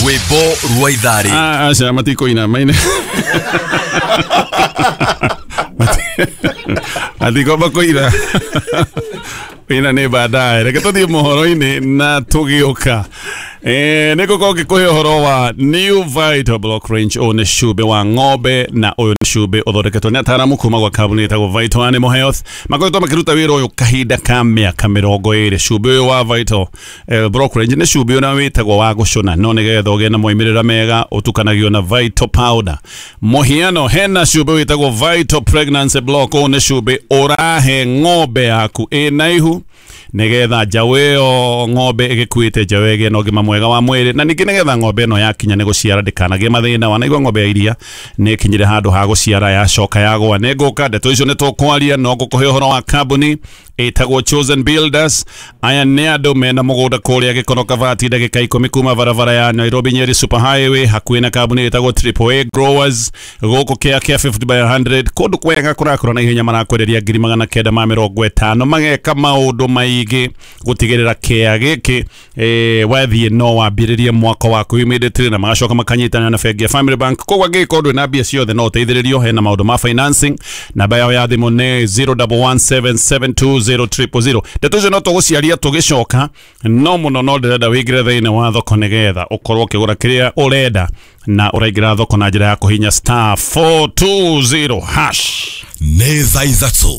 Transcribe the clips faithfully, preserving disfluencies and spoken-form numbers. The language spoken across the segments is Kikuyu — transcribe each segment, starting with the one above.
Rwĩmbo rwa itharĩ. Aca matikũina maine. Matikomba kũina. Ina nĩ baadaye. Reke tũthiĩ mohoro-inĩ na tũgĩũka. Eh, nĩ ngũkorwo ngĩkũhe ũhoro wa New Vital Block Range. Ũyũ nĩ cumbĩ wa ng'ombe na ũyũ nĩ cumbĩ ũthondeketwo nĩ ataaramu kuma gwa kambuni ĩtagwo Vital Animal Health. Makoretwo makĩruta wĩra ũyũ kahinda ka mĩaka mĩrongo ĩrĩ. Cumbĩ ũyũ wa Vital eh, Block Range nĩ cumbĩ ũrĩa wĩtagwo wa gũcũna, no nĩgetha ũgĩe na moimĩrĩra mega ũtukanagio na Vital Powder. Mũhiano, hena cumbĩ wĩtagwo Vital Pregnancy Block. Ũyũ nĩ cumbĩ ũrahe ng'ombe yaku ĩna ihu nigetha njaũ ĩyo ng'ombe ĩgĩkuĩte njaũ ĩgĩe na ũgima mwega wa mwĩrĩ, na ningĩ nĩgetha ng'ombe ĩno yakinya nĩ gũciara ndĩkanagĩe mathĩna. Wanaigua ng'ombe ya iria nĩ ĩkinyire handũ ha gũciara yacoka yagũa. Nĩ ngũka ndeto icio nĩ tũkwaria, no ngũkũhe ũhoro wa kambuni ĩtagwo Chosen Builders. Aya nĩ andũ mena mũgũnda kũrĩa Gĩkono Kabati, ndagĩka ikũmi kuma barabara ya Nairobi Nyeri Super Highway, hakuhĩ na kambuni ĩtagwo Triple A Growers, gũkũ kĩa kĩa fifty by a hundred, kũndũ kwega kũrakũra na ihenya. Marakwenderia ngiri magana kenda ma mĩrongo ĩtano, mageka maũndũ maingĩ gũtigĩrĩra kĩa gĩkĩ eh, wathiĩ no wambĩrĩrie mwaka waku immediately, na magacoka makanyitanĩra na bengi ya Family Bank. Koguo angĩgĩkorwo ndwĩ na mbia ciothe no ũteithĩrĩrio, hena maũndũ ma financing. Namba yao ya thimũ nĩ zero one one seven seven two zero triple zero. Ndeto icio no tũgũciaria tũgĩcoka, no mũno no ndĩrenda wĩingĩre thĩinĩ wa thoko nĩgetha ũkorwo ũkĩgũra kĩrĩa ũrenda, na ũraingĩra thoko na njĩra ya kũhinya star four two zero hash. Nĩ thaa ithatũ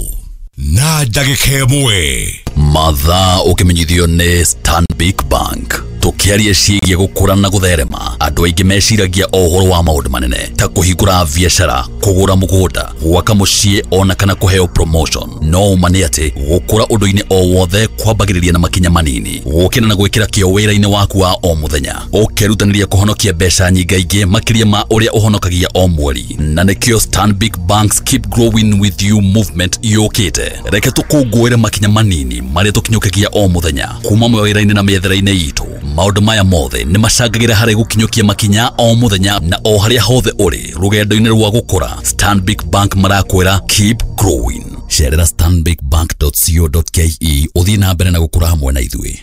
na ndagĩka ĩmwe. Mathaa ũkĩmenyithio nĩ Stanbic Bank. Tũkĩaria ciĩgiĩ gũkũra na gũtherema, andũ aingĩ meciragia o ũhoro wa maũndũ manene ta kũhingũra biacara, kũgũra mũgũnda, gwaka mũciĩ ona kana kũheo promotion. No ũma nĩ atĩ gũkũra ũndũ-inĩ o wothe kwambagĩrĩria na makinya manini, gũkĩra na gwĩkĩra kĩo wĩra-inĩ waku wa o mũthenya, ũkerutanĩria kũhonokia mbeca nyingaingĩ makĩria ma ũrĩa ũhonokagia o mweri. Na nĩkĩo Stanbic Bank's Keep Growing With You movement yũkĩte. Reke tũkũngũĩre makinya manini marĩa tũkinyũkagia o mũthenya kuma mawĩra-inĩ na mĩethere-inĩ itũ. Maũndũ maya mothe nĩ macangagĩra harĩ gũkinyũkia makinya o mũthenya na o harĩa hothe ũrĩ rũgendo-inĩ rwa gũkũra. Stanbic Bank marakwĩra keep growing. Cerera stanbic bank dot co dot ke ũthiĩ na mbere na gũkũra hamwe na ithuĩ.